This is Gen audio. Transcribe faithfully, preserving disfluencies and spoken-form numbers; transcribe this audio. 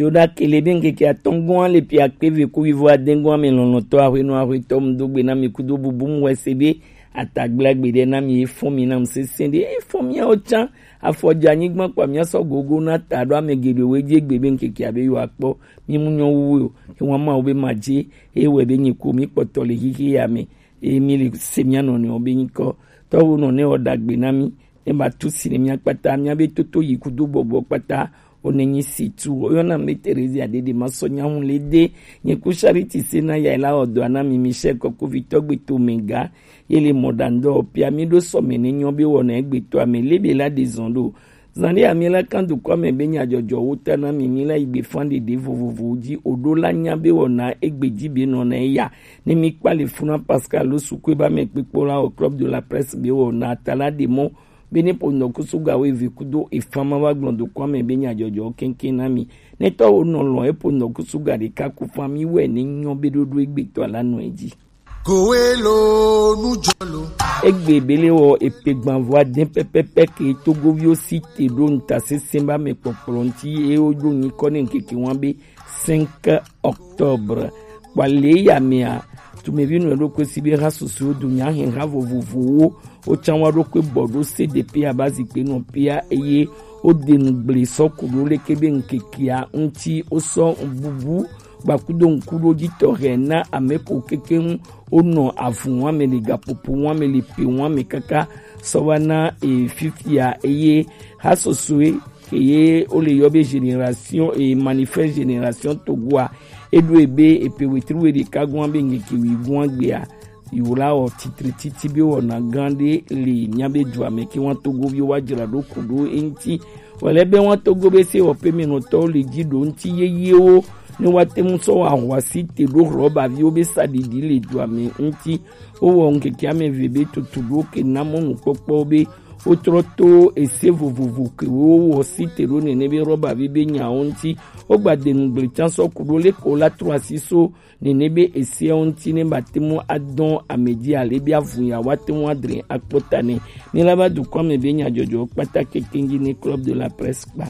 Yo ɖa kele be ŋkeke atɔ̃ gɔ̃ le pia kpe ve ku wivo adẽ gɔ̃ ame lɔlɔ̃tɔ aƒenɔ aƒetɔ mu do gbe na mi kudo bubu mu wɛ se be atagble agbe ɖe na mi, efɔ̃ mi na mu sesẽ ɖe, efɔ̃ miawo tsã afɔ dze anyigba kpa mia sɔ gogo na ta ɖo ame geɖewo dzi egbe be ŋkeke abe yo akpɔ mi mu nyɔ wu o. Ewa Mawu be ma dze eye wɛ be nyi ko mi kpɔtɔ le xixi ya me eye mi le se mia nɔnɔewo be nyikɔ. Tɔwo nɔnɔe wɔ ɖagbe na mi ne ba tu si ne mia kpata mia be toto yi kudo gbɔgbɔ kpata. Wo ne nyi si tu wo yɔna mi Terezia ɖeɖe ma sɔ nyahu le de nye ku Charity se na ya la wɔ dɔ na mi Michel kɔkovitɔ gbe to me ga ye le mɔ ɖa ŋdɔ pia mi ɖo sɔ me ne nyɔ be wɔna egbe to ame le be la de zɔn ɖo. Zan ɖe ami la kan dukɔ me be nya jɔjɔ wo ta na mi mi la yi gbe fan ɖeɖe vovovowo dzi o ɖo la nya be wɔna egbe dzi be nɔ na eya ne mi kpa le funa Pascal lo sukue ba me kpekpo la o Club de la Presse be wɔna ta la de mɔ be ne po ŋdɔ kusu ga wo eve kudo efan ma va gblɔ dukɔ me be nya jɔjɔ keŋkeŋ na mi. Ne tɔ wo nɔ lɔ e po ŋdɔ kusu ga ɖeka ku fan mi wɛ ne nyɔ be ɖoɖo egbe tɔ la nɔ edzi. Kowe lo nu jɔ lo. Egbe bele wɔ epe gbanvo adẽ pɛpɛpɛ ke Togoviwo si te ɖo ŋuta sesẽ ba me kpɔkplɔ ŋuti eye woɖo nyikɔ ne ŋkeke wa be cinq octobre. Kpale ya mea tumevi nɔ ɖokui si be ha susuwo do nya hɛn ha vovovowo wo tsã wa ɖokui bɔ ɖo C D P aba zikpe nɔ pia eye wo de nu gble sɔ ku ɖo leke be ŋkekea ŋuti wo sɔ bubu gbakudo ŋkuɖodzitɔ hɛ na ame ko kekeŋ wonɔ avu wɔme le gaƒoƒo wɔme le pe wɔme kaka sɔ va na e, fifia eye ha sɔsɔe ke ye wole yɔ be génération e, manifeste génération Togoa eɖo ebe epe wetri we ɖeka gɔn be ŋkeke wi gɔn gbea. Yewo la wɔ titre titi be wɔna gã ɖe le mía be dua me ke wa Togoviwo wa dzra ɖo ku ɖo eŋuti. Wòle be wa Togo be sewɔƒemenɔtɔwo le dzi ɖo ŋuti yeyewo ne woate ŋu sɔ wɔ ahɔasi te ɖo hlɔbaviwo be saɖiɖi le dua me ŋuti. Wowɔ ŋkeke ame eve be tutu ɖo ke na mɔnukpɔkpɔwo be wotrɔ to ese vovovo ke wowɔ si te ɖo nene be hlɔbavi be nyawo ŋuti. Wogba de nugble tsã sɔ ku ɖo leke wola trɔ asi so nene be eseawo ŋuti ne ba te ŋu adɔ ame dzi ale be avu ya woate ŋu adre akpɔ ta nɛ. Ne la va dukɔ me be nyadzɔdzɔ kpata kekeŋ dzi ne Club de la Presse kpa.